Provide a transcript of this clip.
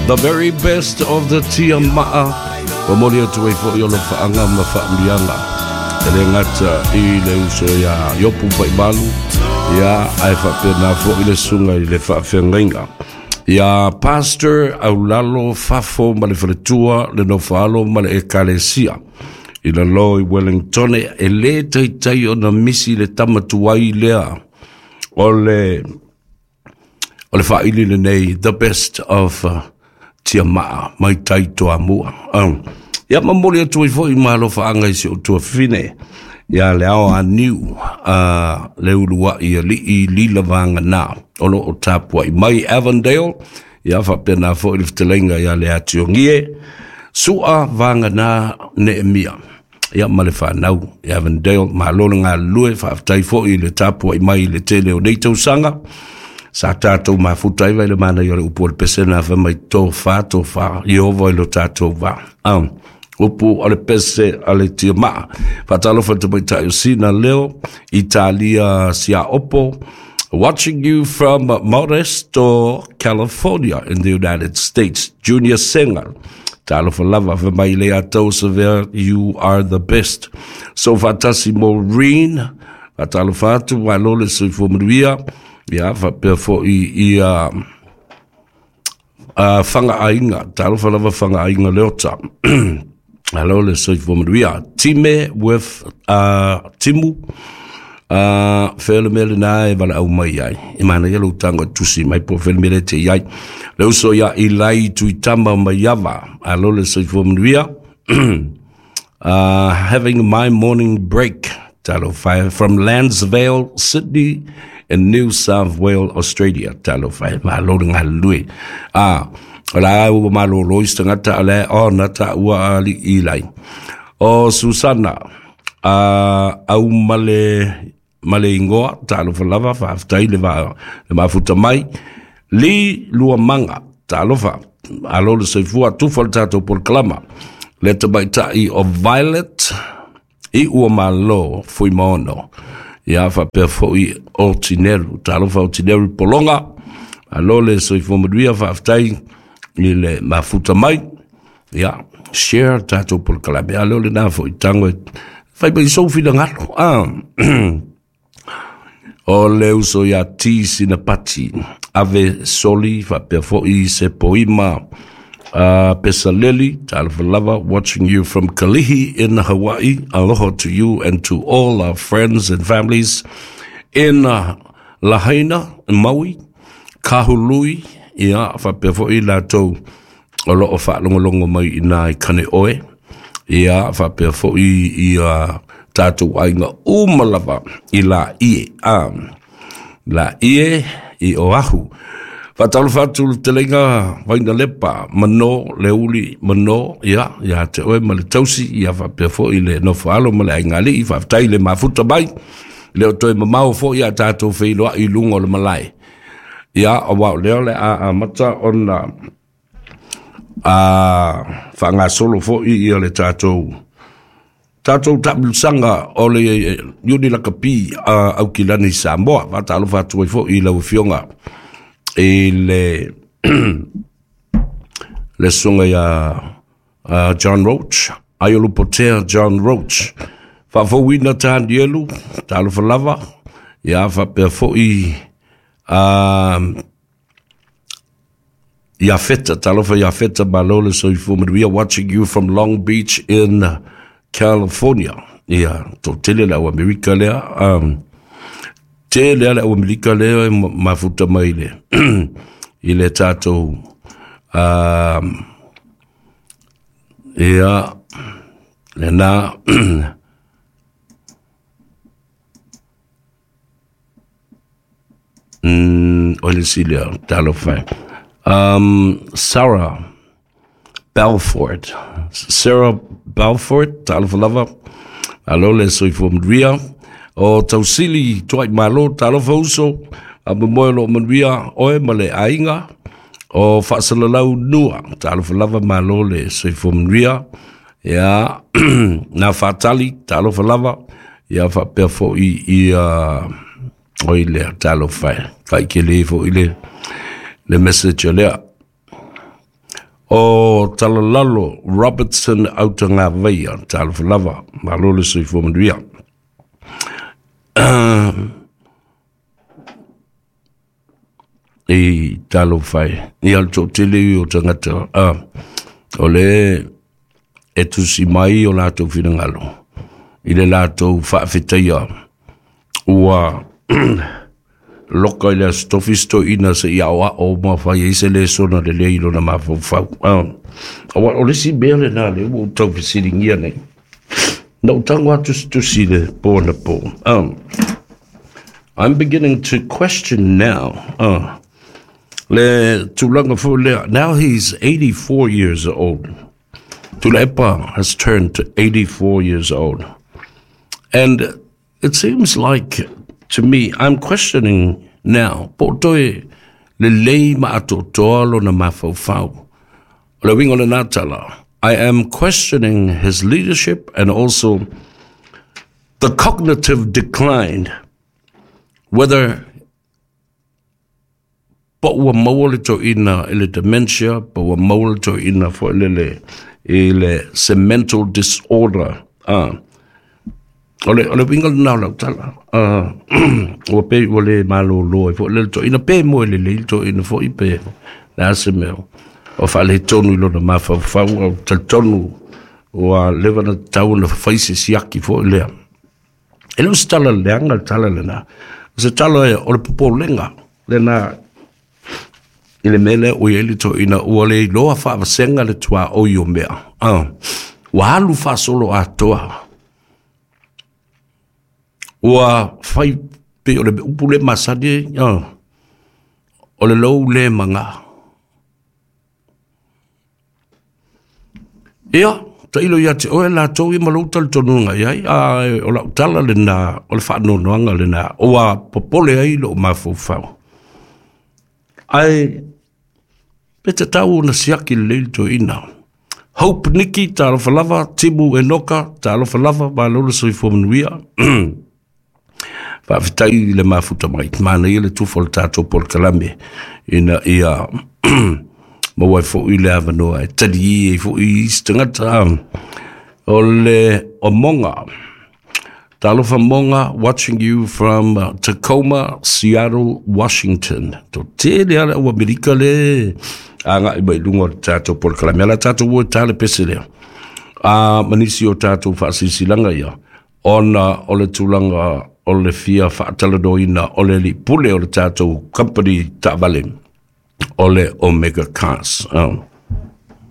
The very best of the Tiamaa. Momoli atu ai fo'i o lofaaga ma faamuliaga. E le gata i le uso iā Iopu Vaimalu, ia ae faapena fo'i le susuga i le faafeagaiga. Ia Pastor Aulalo Fafo ma le faletua, le nofoalo ma le ekalesia. I lalo i Wellingtone, e lē taitai ona misi le tama tuai lea o le O le faaili lenei, the best of uh, Tiamaa mai tai Toamua. Um, ia momoli atu ai foi ma alofaaga i si ou tuafafine ia le ao a niu a le uluai alii Lila Vagana o lo o tapuai mai Avondale ia faapena foi le fetalaiga ia le Ationgie Sua Vagana Neemia ia ma le fanau i Avondale. Malo le galulue, faafetai foi i le tapuai mai i le tele o nei tausaga. Sa tatou mafuta ai vai le manaia o le upu o le pese na fai mai tofa, tofa, Ieova i lo tatou va. Ah, upu o le pese a le tiamaa. Faatalofa i le tamaitai o Sina Leo, Italia Siaopo, watching you from Modesto, California in the United States. Junior Senga, Talofa lava, fai mai le atau savea, you are the best. So faatasi Maureen, faatalofa atu, malo le soifua manuia, ia faapea foi ia uh, whangaaiga, talofa lava whangaaiga leota. Alo le soifua manuia. Time with uh, Timu, uh, fea le mea lena e valaau mai ai. E manaia lou tago e tusi mai po o fea le mea lea e te i ai. Le uso ia Ilai Tuitama Maiava, alo le soifua manuia. Having my morning break, talofa e, from Lansvale, Sydney, in New South Wales, Australia. Talofa e, malo le galulue. Ah, o la ua malolo i se tagata, o lea ona taua a alii Ilai. O Susana, a au ma le, ma le ingoa, talofa lava, faafetai le, va, le mafuta mai. Li Luamaga, talofa, alo le soifua, tufa le tatou polokalama. Le tamaitai o Violet, i ua malo Fuimaono. Ia faapea foi o Tineru, talofa o Tineru Polonga, alo le soifua manuia, faafetai i le mafuta mai. Ia, share tatou polokalame, a leo lena foi tango e fai mai sou finagalo. Ah. O le uso ia T Sinapati, Ave Soli, faapea foi se poima uh, Pesaleli, talofa lava, watching you from Kalihi in Hawaii. Aloha to you and to all our friends and families in uh, Lahaina, Maui, Kahului, ia, faapea foi latou o lo o faalogologo mai i nā i Kaneohe, ia faapea foi ia tatou aiga uma lava i Laie, a Laie i Oahu. Faatalofa atu le fetalaiga Vainalepa, Mano, Leuli, Mano, ia, ia te oe ma le tausi, ia faapea foi le nofoalo ma le aiga alii, faafetai le mafuta mai, le o toe mamao foi a tatou feiloai i luga o le malae. Ia, aua o lea o le a amata ona a faagasolo foi ia le tatou tatou taamilosaga o le Iuni Lakapi a Aukilani Samoa. Faatalofa atu ai foi i lau Afioga i le le susuga ia John Roach, Aiolupotea John Roach. Faafouina Tanielu, talofa lava, ia faapea foi uh, Iafeta, talofa Iafeta, malo le soifua manuia, watching you from Long Beach in California. Ia, toatele le au Amerika lea. Um, tele le au Amerika lea e mafuta mai le, i le tatou um, ia, lena Mm, o le isi lea, talofa e. Um, Sarah Belfort. Sarah Belfort, talofa lava. Alo le soifua manuia. O Tausili Tuai Malo, talofa uso. A momoe o loo manuia oe ma le aiga. O Faasalalau Nua, talofa lava malo le soifua manuia. Ia, nā Faatali, talofa lava. Ia faapea foi ia oi lea, talofa e. Kai ke le foi le, le message lea. O Talalalo Robertson Autagavaia, talofa lava, malo le soifua manuia. I talofa e, ia le toatele ia o tagata, o le e tusi mai o latou finagalo i le latou faafetaia ua loka i le Aso Tofi se toeaina seia aoao ma fai ai se lesona lelei i lona mafaufau. Aua o le isi mea lena lea ua ou tau fesiligia nei. Na ou tago atu se tusi i le po anapo. I'm beginning to question now. Le tulaga foi lea. Now he's 84 years old. Tuilaepa has turned to 84 years old. And it seems like to me, I'm questioning now, po o toe lelei ma atoatoa lona mafaufau. O le uiga o lena tala, I am questioning his leadership and also the cognitive decline, whether po ua maua le toeaina i le dementia, po ua maua le toeaina foi lele i le se mental disorder. O le, o le uiga lena o lau tala. Ua pei ua le malolo ai foi le toeaina, pe moe lelei le toeaina foi pe le a se mea o faaletonu i lona mafaufau, au talitonu ua leva ona tatau ona fai se siaki foi lea. E le o se tala leaga le tala lena, o se tala o le popolega lena i le mea lea ua i ai le toeaina ua le iloa faavasega le tuaoi o mea. Ua alu faasolo atoa. Ua fai pei o le upu le masani ai, o le lou le maga. Ia, tailo ia te oe latou ia ma lou talitonuga i ai, a o lau tala lena, o le faanoanoaga lena, ua popole ai lou mafaufau. Ae pe tatau ona siaki lelei le toeaina. Hope Niki, talofa lava, Timu Enoka, talofa lava, malo le soifua manuia. Faafetai i le mafuta mai, manaia le tufa o le tatou polokalame ina ia maua ai foi le avanoa e tali ai foi isi tagata. O le Omonga, talofa Monga, watching you from Tacoma, Seattle, Washington. Toatele lava le au Amerika le agai mai i luga o le tatou polokalame. Ala tatou o e ta le pese lea. A ma nisi o tatou faasilasilaga ia, ona o le tulaga o le fia faatalanoaina o le alii pule o le tatou company taavale o le Omega Cars.